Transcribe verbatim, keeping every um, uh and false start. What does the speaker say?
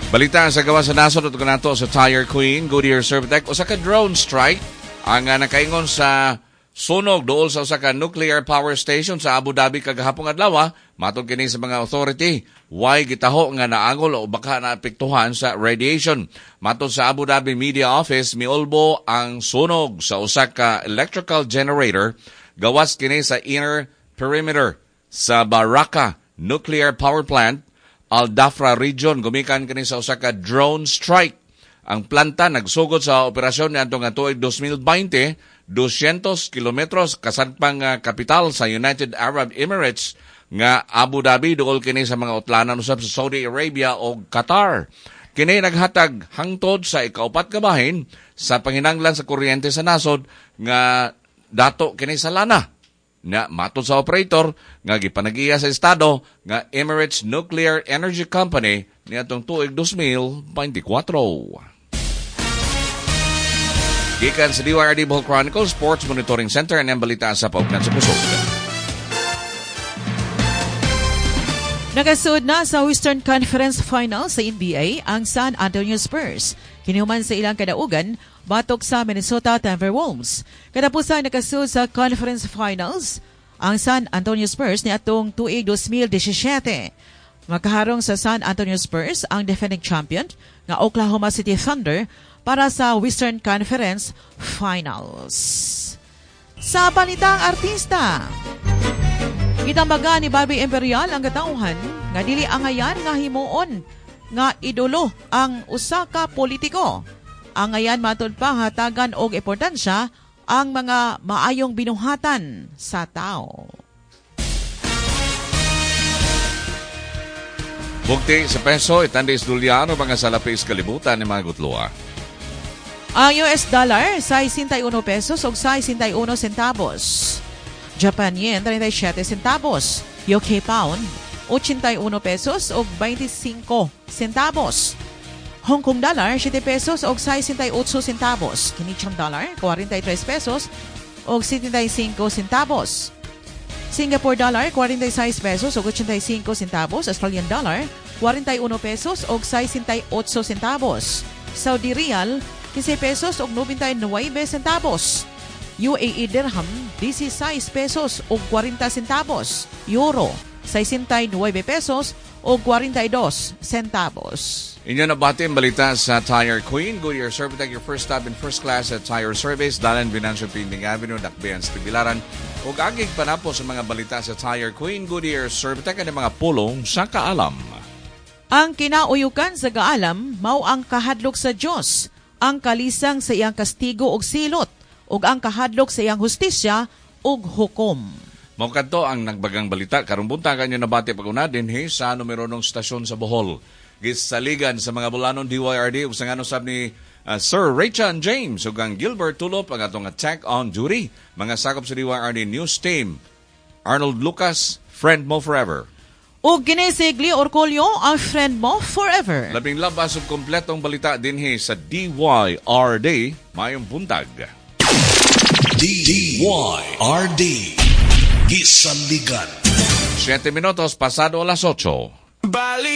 Balita sa gawas sa nasod at nato sa Tire Queen, Goodyear Servitech, usa ka drone strike ang uh, nakaingon sa sunog duol sa usa ka nuclear power station sa Abu Dhabi kagahapon adlaw. Matod kini sa mga authority, way gitaho nga naangol o baka naapektuhan sa radiation. Matod sa Abu Dhabi Media Office, miulbo ang sunog sa usa ka electrical generator gawas kini sa inner perimeter sa Baraka Nuclear Power Plant, Al Dhafra Region, gumikan kini sa usa ka drone strike. Ang planta nagsugod sa operasyon niadtong nga tuig dos mil twenty, two hundred kilometros kasadpang uh, kapital sa United Arab Emirates nga Abu Dhabi, duol kini sa mga utlanan usab sa Saudi Arabia o Qatar. Kini naghatag hangtod sa ikaupat ka bahin sa panginanglan sa kuryente sa nasod nga dato kini sa lana na matod sa operator nga gipanagiya sa estado nga Emirates Nuclear Energy Company niadtong tuig dos mil twenty-four. Gikan sa D Y R D Bohol Chronicle Sports Monitoring Center, ang balita sa Paugnan sa Kusog. Nakasud na sa Western Conference Finals sa N B A ang San Antonio Spurs. Kinihuman sa ilang kadaugan batok sa Minnesota Timberwolves. Katapusan nakasud sa Conference Finals ang San Antonio Spurs niadtong tuig dos mil seventeen. Makaharong sa San Antonio Spurs ang defending champion nga Oklahoma City Thunder para sa Western Conference Finals. Sa balitang artista, gitambaga ni Barbie Imperial ang katawhan nga dili angayan nga himuon nga idolo ang usa ka politiko. Angayan matud pa hatagan og importansya ang mga maayong binuhatan sa tao. Bugti sa peso, itandis dolyar, mga salapis kalibutan ni mga gutloa. Ang U S dollar, sixty-one pesos ug sixty-one centavos. Japan yen, thirty-seven centavos. U K pound, eighty-one pesos ug twenty-five centavos. Hong Kong dollar, seven pesos ug sixty-eight centavos. Canadian dollar, forty-three pesos ug seventy-five centavos. Singapore dollar, forty-six pesos ug eighty-five centavos. Australian dollar, forty-one pesos ug sixty-eight centavos. Saudi rial, fifteen pesos ug ninety-nine centavos. U A E dirham, sixteen pesos ug forty centavos. Euro, sixty-nine pesos ug forty-two centavos. Inyo nabati ang balita sa Tire Queen. Goodyear Servitech, your first stop in first class at tire service. Dalan Venancio Pinding Avenue, Dakbayan sa Tagbilaran. Ug agig panapo sa mga balita sa Tire Queen, Goodyear Servitech, ang mga pulong sa kaalam. Ang kinauyukan sa kaalam, mao ang kahadlok sa Dios, ang kalisang sa iyang kastigo og silot, ug ang kahadlok sa iyang hustisya ug hukom. Mao kadto ang nagbagang balita karong buntagan nyo nabati pag-una dinhi sa numero ng stasyon sa Bohol. Gisaligan sa mga bulanon D Y R D ug sa ngano sab ni uh, Sir Raychan James ug ang Gilbert Tulop ang atong attack on duty. Mga sakop sa D Y R D News Team. Arnold Lucas, friend mo forever. Ug kini si Glee Orcolio, ang friend mo forever. Labing labas ug kompletong balita dinhi sa D Y R D. Mayong buntag. D Y R D. Gisaligan. Siete minutos pasado alas otso. Bali